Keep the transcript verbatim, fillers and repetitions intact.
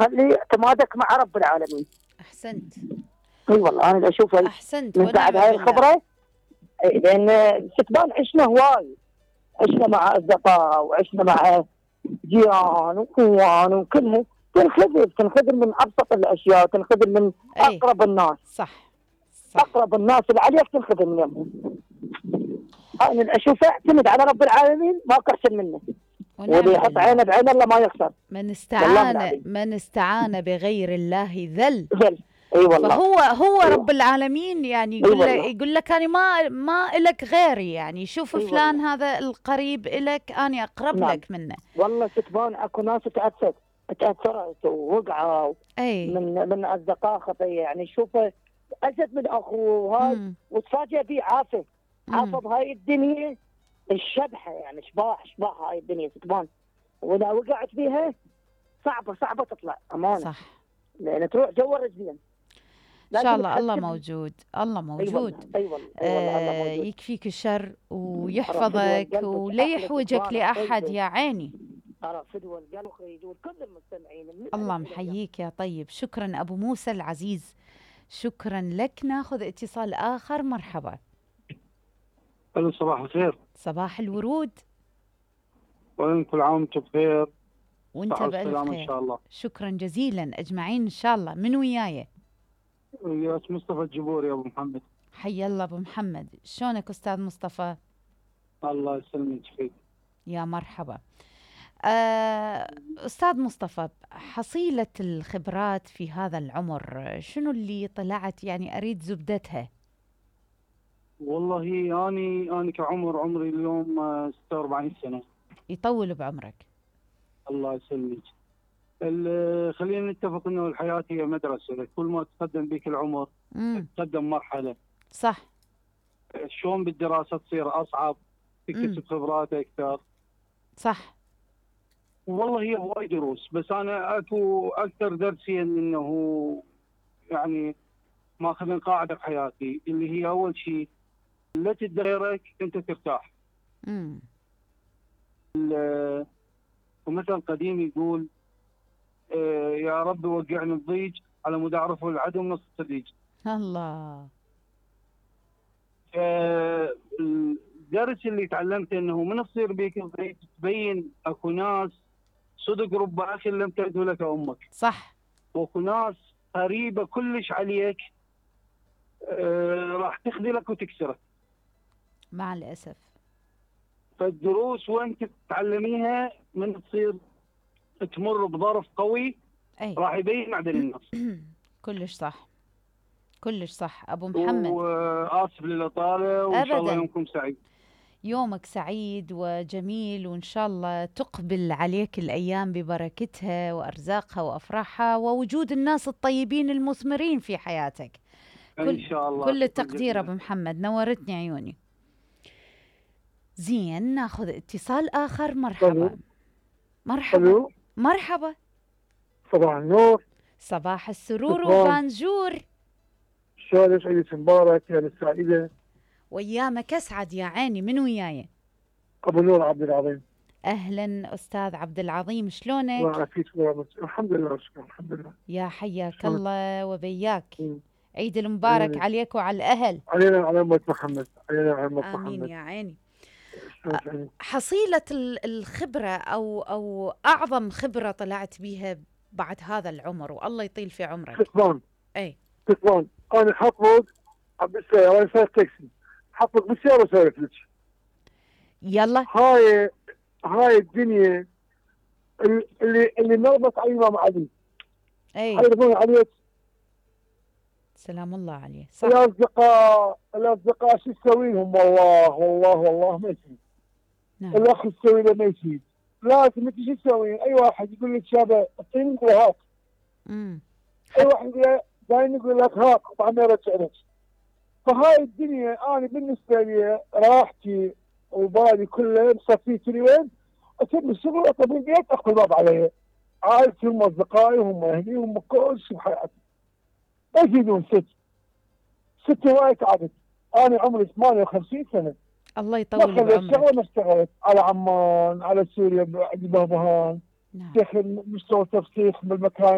خلي اعتمادك مع رب العالمين. احسنت. اي والله انا اشوف احسنت من بعد ونعم هاي بالله. الخبره. اي لان ستبان عشنا هواي، عشنا مع اصدقاء وعشنا مع جيران واخوان وكلهم، تنخذل تنخذل من ابسط الاشياء، تنخذل من أي. اقرب الناس. صح صح. اقرب الناس اللي عليك تنخذل منهم. انا اشوفه اعتمد على رب العالمين، ما احسن منه. واللي يحط عينه بعين الله ما يخسر. من استعان من استعان بغير الله ذل. ذل. اي والله. فهو هو أيوة. رب العالمين يعني يقول أيوة لك يقول لك انا ما ما الك غيري، يعني شوف أيوة فلان والله. هذا القريب الك انا اقرب نعم. لك منه. والله ستبان اكو ناس تاثرت تاثرت ووقعوا أي. من من اصدقاء خطيه، يعني شوفه اشد من اخوه هاي وتفاجئ به عافه عافه بهاي الدنيا الشبحه، يعني شباح شباح هاي الدنيا ستبان، واذا وقعت فيها صعبه صعبه تطلع امانه. صح. لان تروح جوا رجلين. ان شاء الله الله موجود، الله موجود. اي والله اي والله الله موجود. يكفيك الشر ويحفظك ولا يحوجك لاحد يا عيني. ترى فدوى القلب يجون كل المستمعين. الله محييك يا طيب. شكرا ابو موسى العزيز، شكرا لك. ناخذ اتصال اخر. مرحبا. الو صباح الخير. صباح الورود. وكل عام وانتم بخير. وانت بألف خير ان شاء الله. شكرا جزيلا اجمعين ان شاء الله. من وياي؟ وياك مصطفى الجبوري يا ابو محمد. حي الله ابو محمد، شلونك استاذ مصطفى؟ الله يسلمك فيك. يا مرحبا. أه استاذ مصطفى، حصيلة الخبرات في هذا العمر شنو اللي طلعت، يعني اريد زبدتها. والله اني اني كعمر عمري اليوم ستة وأربعين سنة. يطول بعمرك. الله يسلمك. خلينا نتفق انه الحياه هي مدرسه، كل ما تقدم بك العمر مم. تقدم مرحله. صح. شلون بالدراسه تصير اصعب، تكتسب خبرات اكثر. صح. والله هي هواي دروس، بس انا اكو اكثر درسين انه يعني ماخذ قاعده بحياتي اللي هي اول شيء لا تدي غيرك انت ترتاح. امم ومثل قديم يقول آه يا رب وقعني الضيج على مود اعرفه العدو نص الصديج. الله. الدرس اللي تعلمته انه من تصير بيك الضيج تبين اكو ناس صدق رب اخ لم تلد لك امك. صح. واكو ناس قريبه كلش عليك آه راح تخذلك وتكسرك. مع الاسف. فالدروس وانت تتعلميها من تصير تمر بظرف قوي أي. راح يبين معدن الناس. كلش صح كلش صح ابو محمد. واسف للاطاله وان شاء الله يومكم سعيد. يومك سعيد وجميل، وان شاء الله تقبل عليك الايام ببركتها وارزاقها وافراحها ووجود الناس الطيبين المثمرين في حياتك. ان شاء الله. كل التقدير ابو محمد، نورتني عيوني. زين ناخذ اتصال اخر. مرحبا. مرحبا. مرحبا. صباح النور. صباح السرور وبانجور. شلونك؟ عيدك مبارك يا السعيدة. وايامك اسعد يا عيني. من وياي؟ ابو نور عبد العظيم. اهلا استاذ عبد العظيم، شلونك؟ الله يعافيك. الحمد لله شكرا. الحمد لله. يا حياك الله وبياك. عيد المبارك علينا. عليك وعلى الاهل. علينا وعلى امة محمد. علينا وعلى امة محمد. امين يا عيني. حصيلة الخبرة او او اعظم خبرة طلعت بيها بعد هذا العمر، والله يطيل في عمرك. كتبان. اي كتبان. انا حطبق بالسيارة، انا سايق تاكسي، حطبق بالسيارة وسولف لك. يلا. هاي هاي الدنيا اللي اللي نربط على الامام علي. اي يعرفون عليه. سلام الله عليه. صح. الاصدقاء الاصدقاء شو تسوي لهم؟ والله والله والله ما يفيد. نعم. الاخ تسوي له ما يفيد. لازم انت شو تسوي؟ اي واحد يقول لك شابه اعطيني نقول هات. امم اي واحد يقول له دايما يقول لك هات طبعا يرجع لك. فهاي الدنيا انا بالنسبه لي راحتي وبالي كله مصفيتني وين؟ اسوي الشغل اطلب البيت اخذ الباب علي. عائلتي هم اصدقائي هم اهلي هم كل شيء بحياتي. ما يفيدون ست. ست هواي تعبت. انا عمري ثمانية وخمسين سنه. الله يطول بعمرك. ما خليت شغله ما اشتغلت على عمان على سوريا عند بهبهان. نعم. دخل مستوى تفسيخ بالمكان